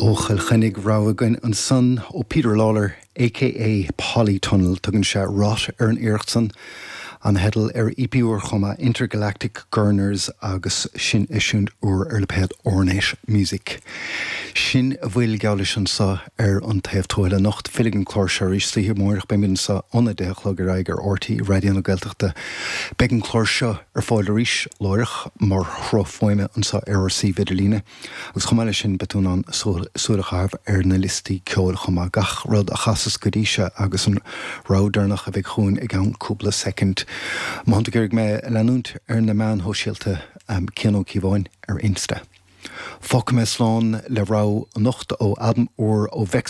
Ó Chill Chainnigh, rogha againn ansan ó Peter Lawlor aka Polytunnel. Tugann sé Rot ar an iarracht san. An theideal ar EP úr chomh maith, Intergalactic Gurners agus sin eisiúint úr ar lipéad Ornate Music. Sin a bhfuil geall leis anso ar An Taobh Tuathail anocht. Fillfidh an clár seo arís istoíche amáireach. Beimid anso óna 10 a chlog ar aghaidh ar RTÉ Raidió na Gaeltachta. Beidh an clár seo ar fáil arís láithreach mar shruth fuaime anso ar ár suíomh idirlíne. Agus chomh maith leis sin, beidh tú in ann súil a chaitheamh ar na liostaí ceoil chomh maith, gach rud a chasas go dtí seo agus an rogha deireanach a bheidh chugainn i gceann cúpla soicind. Má thánn tú ag iarraidh mé a leanúint ar na meáin shóisialta, Cian Ó Cíobháin ar Insta. Fágfaidh mé slán le rogha anocht ó albam úr ó Vex.